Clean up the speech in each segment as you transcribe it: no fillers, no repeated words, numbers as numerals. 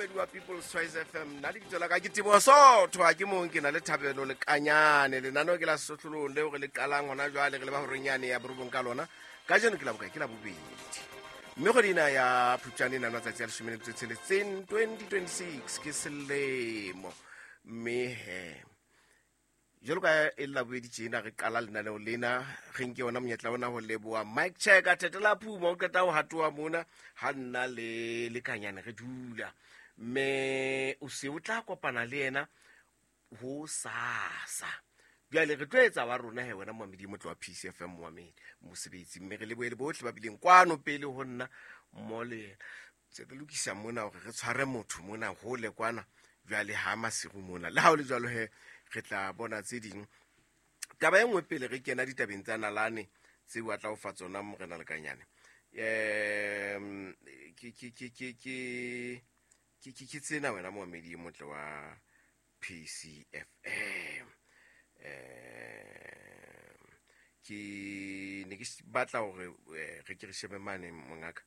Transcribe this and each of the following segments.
Momamedi wa People's Choice FM, nna lebitso la ka ke Teboho Sotho, ha ke mong, ke na le Thabelo Lekanyane. Lenaneo ke la Sehlohlolong leo re le qalang hona jwale, re le ba horeng yane ya borobong ka lona. Kajeno ke la bokae? Ke la bobedi, mme kgwedi ena ya Phupjane e na le matsatsi a 16, 2026 ke selemo. Mme he, jalo ka e le labobedi tjena re qala lenaneo lena, re nke ona monyetla ona ho leboha Mike Checker Thetela Phuma, o qeta ho hatoa mona ha nna le Lekanyane re dula, mme o se o tla kopana le yena ho sasa. Bjale re tlo etsa wa rona he, wena moamedi motlo wa PCFM, moamedi mosebetsi, mme re lebohe le bohle ba bileng kwano pele ho nna mmo le yena. Se re lokisa mona hore re tshware motho mona hole kwana jwale ha masiru mona. Le ha o le jwalo he, re tla bona tse ding. Taba e nngwe pele re kena ditabeng tsa nalane tseo a tla o fa tsona Morena Lekanyane, um ke tsena, wena moamedi e motle wa PCFM. Ke ne ke batla hore re ke re shebe mane, mongaka,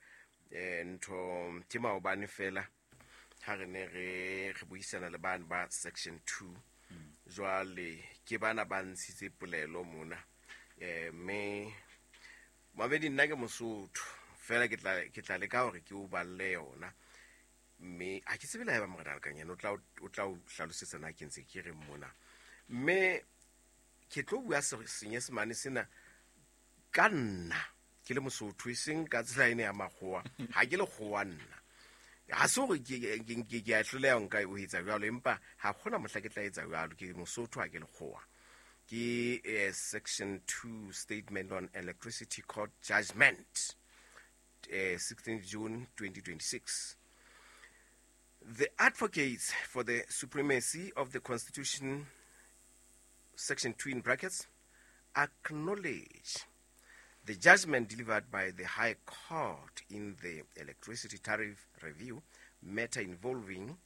ntho ke maobane fela ha re ne re buisana le bane ba section 2. Jwale ke bana ba ntshitse polelo mona, mme mamedi, nna ke Mosotho fela, ke tla leka hore ke o balle yona, mme ha ke tsebe le haeba Morena Lekanyane o tla o hlalosetsa na ke ntse ke reng mona. Mme ke tlo bua Senyesemane sena ka nna ke le Mosotho, e seng ka tsela ene ya makgowa. Ha ke lekgowa nna, ha se hore ke a hloleha nka o etsa jwalo, empa ha gona mohla ke tla etsa jwalo. Ke Mosotho, ha ke lekgowa. Ke section 2 statement on electricity court judgment, 16 June 2026. The advocates for the supremacy of the Constitution, section 2 in brackets, acknowledge the judgment delivered by the High Court in the electricity tariff review matter involving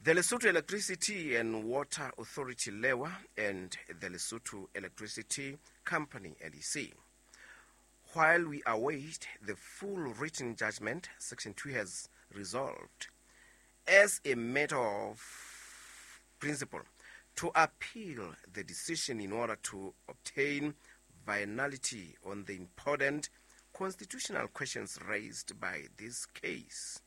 the Lesotho Electricity and Water Authority, LEWA, and the Lesotho Electricity Company, LEC. While we await the full written judgment, Section 2 has resolved, as a matter of principle, to appeal the decision in order to obtain finality on the important constitutional questions raised by this case.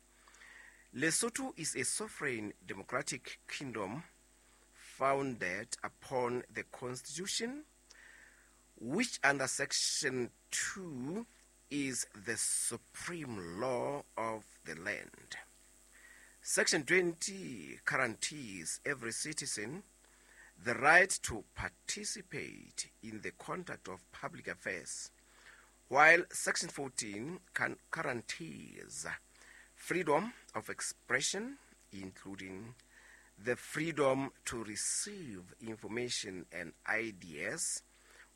Lesotho is a sovereign democratic kingdom founded upon the Constitution, which under Section 2 is the supreme law of the land. Section 20 guarantees every citizen the right to participate in the conduct of public affairs, while Section 14 guarantees freedom of expression, including the freedom to receive information and ideas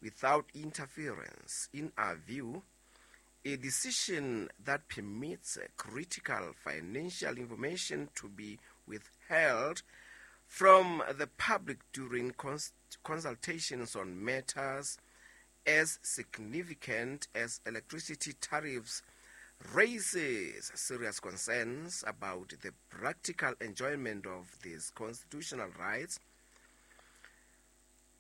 without interference. In our view, a decision that permits critical financial information to be withheld from the public during consultations on matters as significant as electricity tariffs raises serious concerns about the practical enjoyment of these constitutional rights.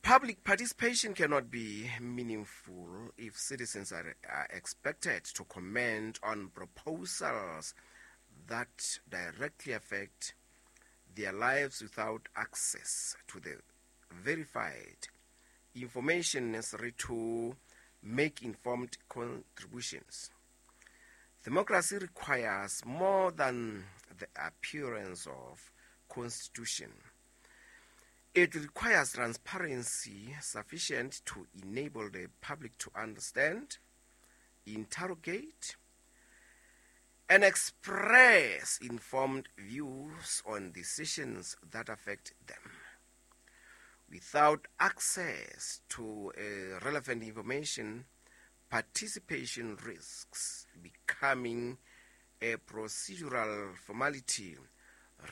Public participation cannot be meaningful if citizens are expected to comment on proposals that directly affect their lives without access to the verified information necessary to make informed contributions. Democracy requires more than the appearance of constitution. It requires transparency sufficient to enable the public to understand, interrogate, and express informed views on decisions that affect them. Without access to relevant information, participation risks becoming a procedural formality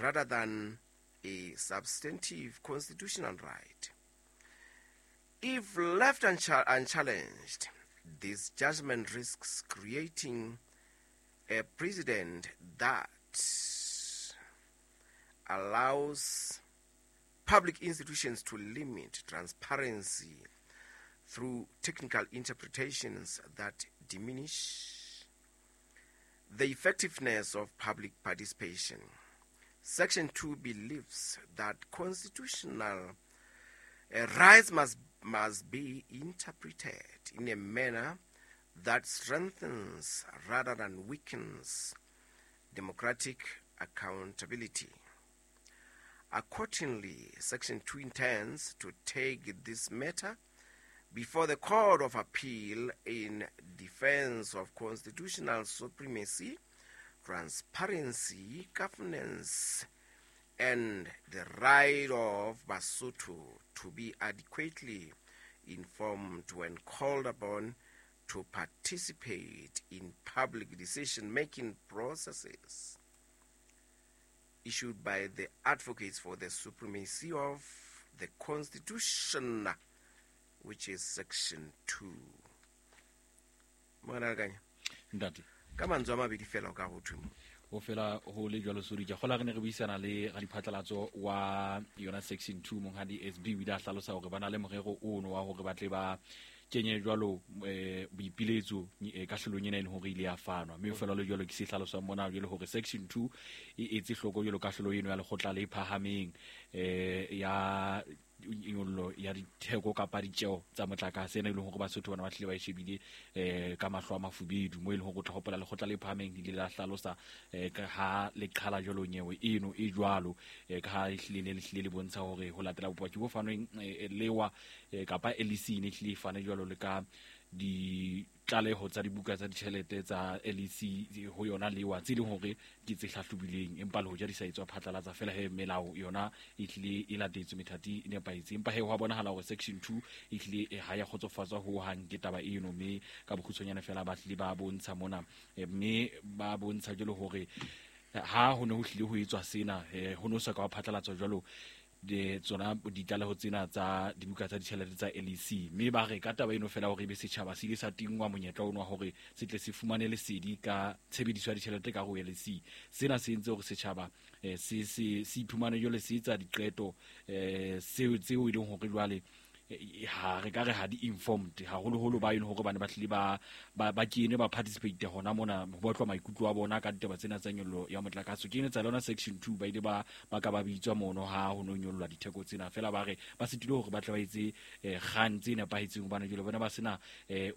rather than a substantive constitutional right. If left unchallenged, this judgment risks creating a precedent that allows public institutions to limit transparency through technical interpretations that diminish the effectiveness of public participation. Section 2 believes that constitutional rights must be interpreted in a manner that strengthens rather than weakens democratic accountability. Accordingly, Section 2 intends to take this matter before the Court of Appeal in defense of constitutional supremacy, transparency, governance, and the right of Basotho to be adequately informed when called upon to participate in public decision-making processes. Issued by the Advocates for the Supremacy of the Constitution, which is Section 2. Mona Ntate. Ka mantswe a mabedi fela o ka go thwe mo. Ho fela ho le jwalo Sodi, ke kgola re ne re buisana le radiphatlalatso wa yona Section 2 monghadi SB, o ile a hlalosa hore ba na le morero ono wa hore ba tle ba kenye jwalo boipiletso kahlolong ena e leng hore ile ya fanwa, mme fela le jwalo ke se hlalosang mona jwalo hore Section 2 e etse hloko jwalo kahlolo eno ya lekgotla le phahameng ya nyollo ya ditheko kapa ditjeo tsa motlakase ena e leng hore Basotho bana ba tlile ba e shebile ka mahlo a mafubedu, mo e leng hore o tla hopola lekgotla le phahameng le ile la hlalosa ka ha le qhala jwalo nyewe eno e jwalo, ka ha e hlile le hlile le bontsha hore ho latela bopaki bo fanweng lewa kapa LEC ne hlile e fane jwalo le ka ditlaleho tsa dibuka tsa ditjhelete tsa LEC ho yona lewa tse leng hore ke tse hlahlobileng, empa le hoja di sa etswa phatlalatsa fela he melao yona e hlile e latetswe methati e nepahetse, empa he ho a bonahala hore Section 2 e hlile ha ya kgotsofatswa ho hang ke taba eno, mme ka bokgutshwanyane fela ba hlile ba bontsha mona, mme ba bontsha jwalo hore ha ho ne ho hlile ho etswa sena ho no sa ka wa phatlalatswa jwalo de tsona ditlaleho tsena tsa dibuka tsa ditjhelete tsa LEC, mme ba re ka taba eno fela hore ebe setjhaba se ile sa tingwa monyetla ono wa hore se tle se fumane lesedi ka tshebediso ya ditjhelete ka ho LEC. Sena se entse hore setjhaba se iphumane jwale se etsa diqeto seo tseo e leng hore jwale ha re ka re ha di informed haholoholo ba eno hore bane ba tlile ba kene ba participate hona mona ho batlwa maikutlo a bona ka ditaba tsena tsa nyollo ya motlakase. Ke ene tsa lona Section 2 ba ile ba ka ba bitswa mono ha ho no nyollwa ditheko tsena, fela ba re ba sitile hore ba tle ba etse kgang tse nepahetseng hobane jwale bona ba sena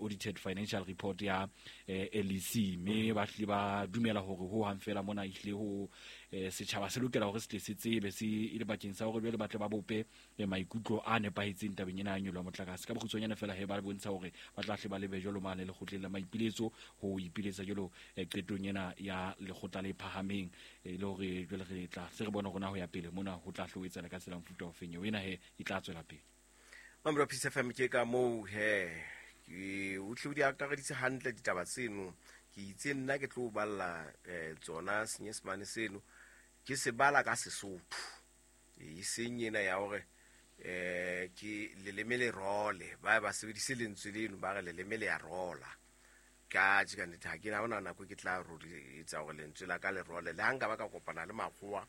audited financial report ya LEC, mme ba tlile ba dumela hore ho hang fela mona ehlile ho setjhaba se lokela hore se tle se tsebe se e le bakeng sa hore jwale ba tle ba bope maikutlo a nepahetseng tabeng ena ya nyollo ya motlakase. Ka bokgutshwanyane fela he ba bontsha hore ba tla hle ba lebe jwalo mane lekgotleng la maipiletso ho ipiletsa jwalo qetong ena ya lekgotla le phahameng, e le hore jwale re tla se re bone hore na ho ya pele mona ho tla hle ho etsahala ka tsela mofuta ofeng eo ena he e tla tswela pele. Mamelo Peace FM ke ka moo he ke o tle o di akareditse hantle ditaba tseno, ke itse nna ke tlo balla tsona senyesemane seno ke se bala ka Sesotho, e seng ena ya hore ke leleme le role ba sebedise lentswe leno ba re leleme le ya rola ka tje ka nnete ha ke na hona nako ke tla etsa hore lentswe la ka le role, le ha nka ba ka kopana le makgowa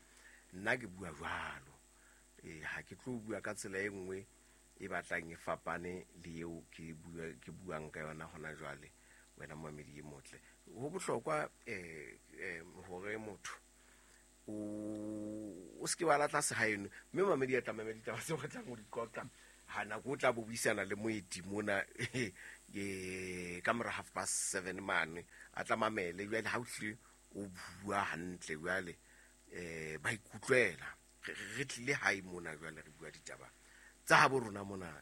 nna ke bua jwalo, ha ke tlo bua ka tsela e nngwe e batlang e fapane le eo ke buang ka yona hona jwale. Wena momamedi e motle, ho bohlokwa hore motho o se ke wa latla sehaeno, mme mamedi a tla mamela ditaba tseo re tlang ho di qoqa ha nako o tla bo buisana le moeti mona ka mora 7:30 mane a tla mamele jwale ha o hlile o bua hantle jwale ba ikutlwela re tlile hae mona jwale re bua ditaba tsa habo rona mona.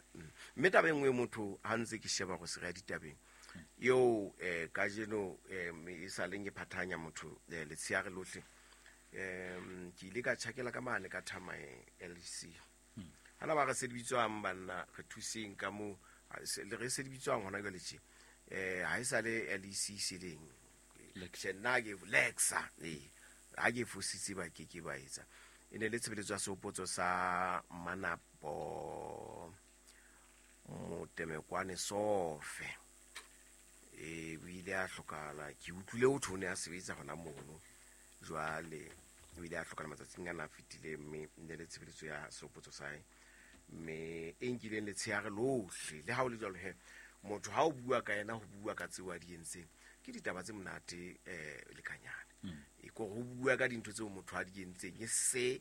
Mme taba e nngwe motho ha ntse ke sheba go se re ditabeng eo kajeno e sa leng e phathanya motho letsheare lohle, ke ile ka tjhakela ka mane ka Thamae LEC. Hana ba re se di bitswang banna re thuseng ka mo le re se di bitswang hona jwale tje, ha e sa le LEC seleng nna ke Lexa ha ke fositse ba ke ke ba etsa e ne le tshebeletso ya sehopotso sa Manapo Motemekwane Sofe, o ile a hlokahala. Ke utlwile ho thwe o ne a sebetsa hona mono jwale O ile a hlokala matsatsing ana a fetileng, mme ne le tshebeletso ya sehopotso sa hae, mme e nkileng letsheare lohle. Le ha o le jwalo he, motho ha o bua ka yena, ho bua ka tseo a di entseng, ke ditaba tse monate lekanyane. E kore ho bua ka dintho tseo motho a di entseng, e se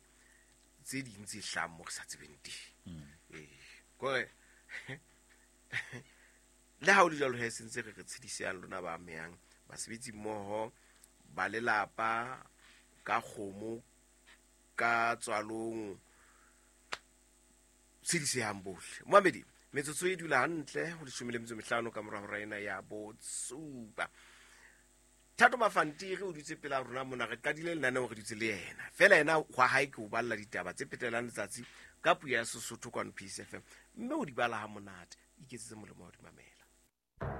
tse ding tse hlahang mo re sa tsebeng teng. Ee, kore le ha o le jwalo he, sentse re re tshedisang lona ba amehang, basebetsi mmoho, ba lelapa, ka kgomo, ka tswalong, tshedisehang bohle. Moamedi, metsotso e dula hantle ho 15 ka mora hora ena ya bosupa. Thato Mafantiri o dutse pela rona mona, re qadile lenaneo re dutse le yena fela. Yena hwa hae ke o balla ditaba tse phetelang letsatsi ka puo ya Sesotho kwano Peace FM, mme o di bala ha monate. Iketsetse molemo wa di mamela.